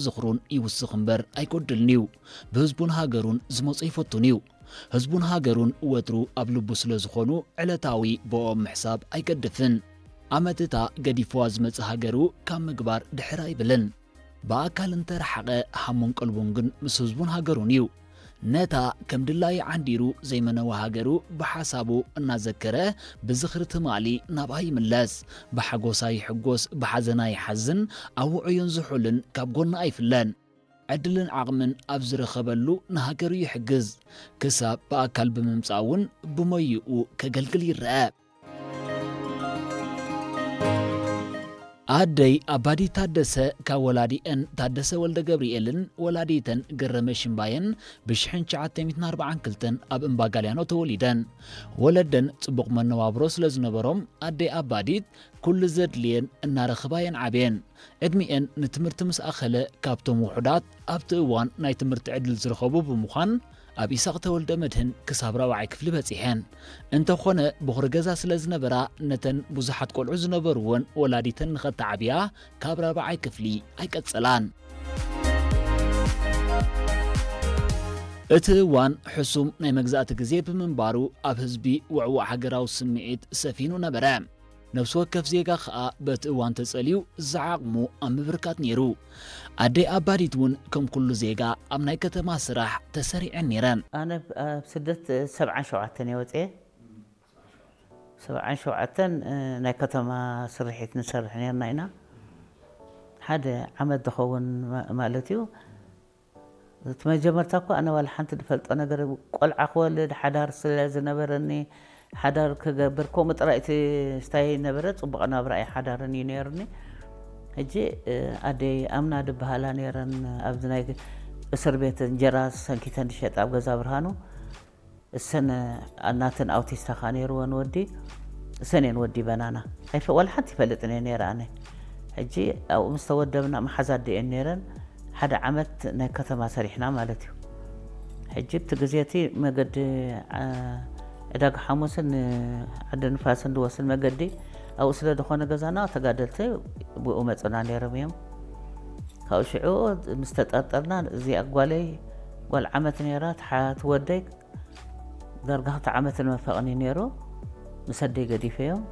ዝኽሩን ይውስኽ እምበር ኣይጎድልን እዩ። ብህዝቡን ሃገሩን ዝመጾ ይፈቱን እዩ። ህዝቡን ሃገሩን ወትሩ ኣብ ልቡ ስለ ዝኾኑ ዕለታዊ ብኦም ምሕሳብ ኣይገድፍን። ኣመትታ ገዲፍዋ ዝመጽእ ሃገሩ ካብ ምግባር ድሕር ኣይብልን። ብኣካል እንተረሓቐ ሃሙን ቀልቡን ግን ምስ ህዝቡን ሃገሩን እዩ። ነታ ከም ድላዩ ዓንዲሩ ዘይመነዋ ሃገሩ ብሓሳቡ እናዘከረ ብዝኽሪ ትማሊ ናብኣ ይምለስ። ብሓጎሳ ይሕጎስ፣ ብሓዘና ይሓዝን፣ ኣብ ውዑይን ዝሑልን ካብ ጎና ኣይፍለን። ዕድልን ዓቕምን ኣብ ዝረኸበሉ ንሃገሩ ይሕግዝ። ክሳብ ብኣካል ብምምጻእ እውን ብሞይኡ ከገልግል ይረአ። ኣደይ ኣባዲት ታደሰ ካብ ወላዲአን ታደሰ ወልደ ገብርኤልን ወላዲተን ገረመ ሽምባየን ብሽሕን ትሽዓተ ሚእትን ኣርባዓን ክልተን ኣብ እምባ ጋልያኖ ተወሊደን። ወለደን ጽቡቕ መነባብሮ ስለ ዝነበሮም ኣደይ ኣባዲት ኩሉ ዘድልየን እናረኸባ እየን ዓብየን። ዕድሚኤን ንትምህርቲ ምስ ኣኸለ ካብቶም ውሑዳት ኣብቲ እዋን ናይ ትምህርቲ ዕድል ዝረኸቡ ብምዃን ኣብ ኢሳቕ ተወልደ መድህን ክሳብ ራብዓይ ክፍሊ በጺሐን። እንተኾነ ብኹሪ ገዛ ስለ ዝነበራ ነተን ብዙሓት ቆልዑ ዝነበርወን ወላዲተን ንኸተዓብያ ካብ ራብዓይ ክፍሊ ኣይቀጸላን። እቲ እዋን ሕሱም ናይ መግዛእቲ ግዜ ብምንባሩ ኣብ ህዝቢ ውዕዉዕ ሃገራዊ ስምዒት ሰፊኑ ነበረ። ነፍሲ ወከፍ ዜጋ ኸኣ በቲ እዋን ተጸልዩ ዝዓቕሙ ኣብ ምብርካት ነይሩ። ኣደይ ኣባዲት እውን ከም ኩሉ ዜጋ ኣብ ናይ ከተማ ስራሕ ተሰሪዐን ነይረን። ኣነ ኣብ ስደት ሰብዓን ሸውዓተን እየ ወፅኤ። ሰብዓን ሸውዓተን ናይ ከተማ ስርሒት ንሰርሕ ነርና ኢና። ሓደ ዓመት ዝኸውን ማለት እዩ። እቲ መጀመርታ እኮ ኣነ ዋላ ሓንቲ ዝፈልጦ ነገር፣ ቆልዓ ክወልድ ሓዳር ስለ ዝነበረኒ፣ ሓዳር ክገብር ከምኡ ጥራይ እቲ ስታይ ነበረ። ጽቡቕ ናብራ ኣይሓዳርን እዩ ነይሩኒ። ሕጂ ኣደይ ኣምና ድበሃላ ነይረን፣ ኣብዚ ናይ እስር ቤት እንጀራ ሰንኪተን ዝሸጣ ኣብ ገዛ ብርሃኑ። እሰን ናተን ኣውቲስታ ካ ነይርወን ወዲ፣ እሰን እየን ወዲ በናና። ኣይፈ-፣ ዋላ ሓንቲ ይፈልጥን እየ ነይረ ኣነ። ሕጂ ኣብኡ ምስ ተወደብና መሓዛ ኣደ እየን ነይረን። ሓደ ዓመት ናይ ከተማ ሰሪሕና ማለት እዩ። ሕጂ እቲ ግዜ እቲ መገዲ፣ ዓ-፣ ዕዳጋ ሓሙስን ዓዲ ንፋስን ዝወስድ መገዲ ኣብኡ ስለ ዝኾነ ገዛና፣ ተጋደልቲ ብኡ መፁና ነይሮም እዮም። ካብኡ ሽዑ ምስ ተጠርጠርና፣ እዚኣ ጓለይ ጓል ዓመት ነይራ፣ ትሓ-፣ ትወደይ ዳርጋ ክልተ ዓመት ንመፈቕኒ ነይሩ። ምስ ኣደይ ገዲፈዮም።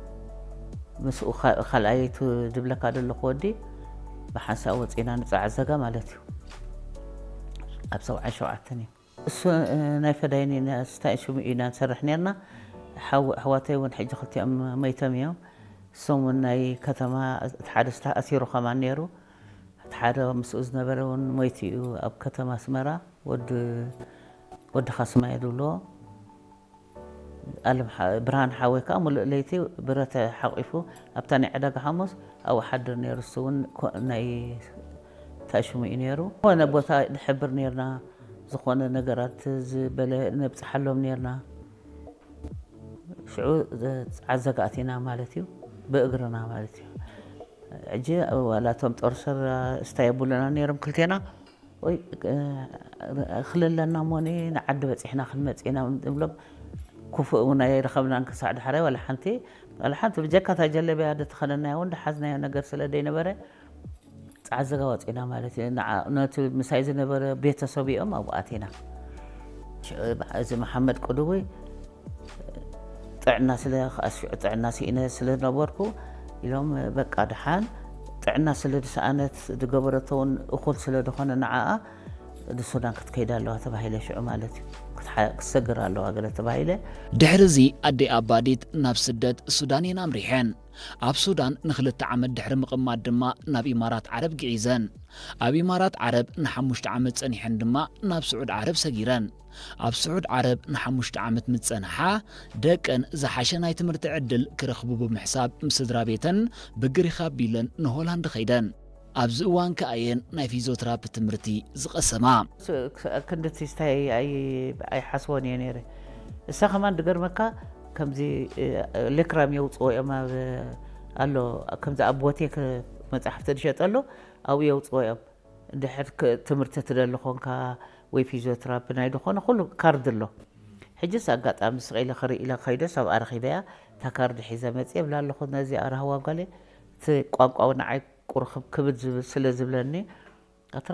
ምስኡ ካ-፣ ካልኣይ እቲ ዝብለካ ዘለኹ ወዲ ብሓንሳእ ወፂና ንፀዓዘጋ ማለት እዩ። ኣብ ሰብዓን ሸውዓተን እዩ። እሱ፣ እ፣ ናይ ፈዳይን ኢና፣ ስታይ ሽሙ ኢና ንሰርሕ ነርና። ሓው-፣ ኣሕዋተይ እውን ሕጂ ክልቲኦም መይቶም እዮም። እሶም እውን ናይ ከተማ፣ እቲ ሓደ ዝተኣሲሩ ከማን ነይሩ። እቲ ሓደ ምስኡ ዝነበረ እውን ሞይቱ እዩ ኣብ ከተማ ኣስመራ። ወዲ፣ ወዲ ካስማ እየ ዝብልዎ። ኣለም ሓ-፣ ብርሃን ሓወይ ከኣ ሙሉእ ለይቲ ብረት ሓቂፉ ኣብታ ናይ ዕዳጋ ሓሙስ ኣብኡ ሓድር ነይሩ። እሱ እውን ኮ-፣ ናይ እንታይ ሽሙ እዩ ነይሩ። ዝኾነ ቦታ ንሕብር ነይርና፣ ዝኾነ ነገራት ዝበለ ነብጽሓሎም ነይርና። ሽዑ ጸዓዘጋ ኣቲና ማለት እዩ፣ ብእግርና ማለት እዩ። ሕጂ ዋላ እቶም ጦር ሰራ እስታይ የብሉና ነይሮም ክልቴና። ወይ፣ እ፣ ክልለና እሞኒ ንዓዲ በጺሕና ክንመጽእ ኢና ንብሎም። ክፉእ እውን ኣይረኸብናን ክሳዕ ዳሕራይ ዋላ ሓንቲ፣ ዋላ ሓንቲ ብጀካ እታ ጀለብያ ዝተኸደናያ እውን ዝሓዝናዮ ነገር ስለ ዘይነበረ፣ ጸዓዘጋ ወጺና ማለት እዩ። ንዓ-፣ ነቲ ምሳይ ዝነበረ ቤተሰብ እዮም ኣብኡ ኣቲና። ሽዑ በዓ-፣ እዚ መሓመድ ቅዱዊ ጥዕና ስለ፣ ከኣ ሽዑ ጥዕና ስኢነ ስለ ነበርኩ ኢሎም፣ በቃ ደሓን ጥዕና ስለ ዝሰኣነት ዝገበረቶ እውን እኹል ስለ ዝኾነ ንዓኣ ንሱዳን ክትከይድ ኣለዋ ተባሂለ ሽዑ ማለት እዩ። ክትሓ-፣ ክትሰግር ኣለዋ ገለ ተባሂለ። ድሕሪ እዚ ኣደይ ኣባዲት ናብ ስደት ሱዳን እየን ኣምሪሐን። ኣብ ሱዳን ንኽልተ ዓመት ድሕሪ ምቕማጥ ድማ ናብ ኢማራት ዓረብ ግዒዘን። ኣብ ኢማራት ዓረብ ንሓሙሽተ ዓመት ጸኒሐን ድማ ናብ ስዑድ ዓረብ ሰጊረን። ኣብ ስዑድ ዓረብ ንሓሙሽተ ዓመት ምስ ጸንሓ፣ ደቀን ዝሓሸ ናይ ትምህርቲ ዕድል ክረኽቡ ብምሕሳብ ምስ ስድራ ቤተን ብግሪኽ ኣቢለን ንሆላንድ ኸይደን። ኣብዚ እዋን ከኣ እየን ናይ ፊዚዮትራፒ ትምህርቲ ዝቐሰማ። ስ-፣ ክ-፣ ክንዲ እቲ ስታይ ኣይ-፣ ኣይሓስቦን እየ ነይረ። እሳ ከማን ዝገርመካ ከምዚ፣ እ፣ ሌክራም የውፅዎ እዮም ኣብ፣ ኣሎ፣ ከምዚ ኣብ ቦቴክ መፅሓፍቲ ዝሸጠሉ ኣብኡ የውፅዎ እዮም። እንድሕር ክ-፣ ትምህርቲ ትደሊ ኾንካ ወይ ፊዚዮትራፒ ናይ ዝኾነ ኩሉ ካርድ ኣሎ። ሕጅስ ኣጋጣሚ ስቕ ኢለ ክርኢ ኢለ ከይደስ ኣብኣ ረኺበያ። እታ ካርድ ሒዘ መፅየ እብላ ኣለኹ ነዚኣ ራህዋ ጓለይ። እቲ ቋንቋ እውን ንዓይ ቁርኽብ ክብድ ዝብል ስለ ዝብለኒ፣ ኣትራ